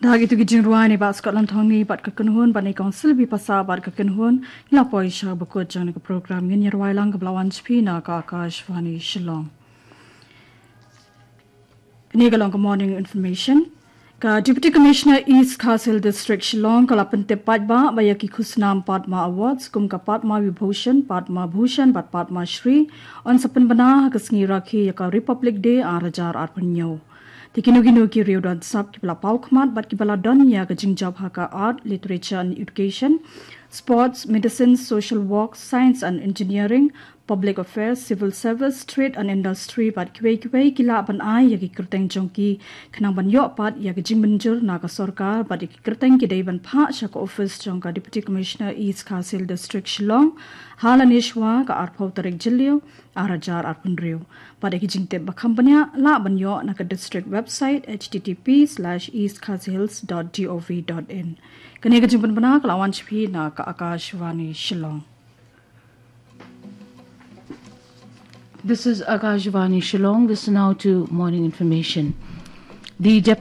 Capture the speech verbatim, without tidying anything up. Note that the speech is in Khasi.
Da kito ki jingrwai ne Bah Scotland Thongni bad ka kynhun bad ne Council Bipasa bad ka kynhun, ngi la poi sha bakut jong ne ka program, ngin ïa rwai lang ka ba la wan sha phi na ka Akashvani Shillong. Kane ka long ka morning information. Ka Deputy Commissioner East Khasi Hills District Shillong ka la pyntip paidbah ba ïa ki khusnam Padma Awards kum ka Padma Vibhushan, Padma Bhushan bad Padma Shri yn sa pynbna ha ka sngi Rakhi ïa ka Republic Day ar hajar arphew hynñiew. Te kino kino ki riew don sap ki ba la paw khmat bad ki ba la don ïa ka jingjop ha ka art, literature and education, sports, medicine, social work, science and engineering, public affairs, civil service, trade and industry bad kiwei kiwei ki lah ban ai ïa ki kyrteng jong ki khnang ban ïoh pat ïa ka jingmynjur na ka sorkar bad ïa ki kyrteng ki dei ban phah sha ka office jong ka Deputy Commissioner East Khasi Hills District Shillong ha lane shwa ka arphew tarik Jylliew ar hajar arphew hynriew. Bad ïa ki jingtip ba kham bniah lah ban ïoh na ka district website https/eastkhasihills.gov.in. Kane ka jingpynbna ka la wan sha phi na ka Akashvani Shillong. This is Akashvani Shillong. This is now to morning information. The Deputy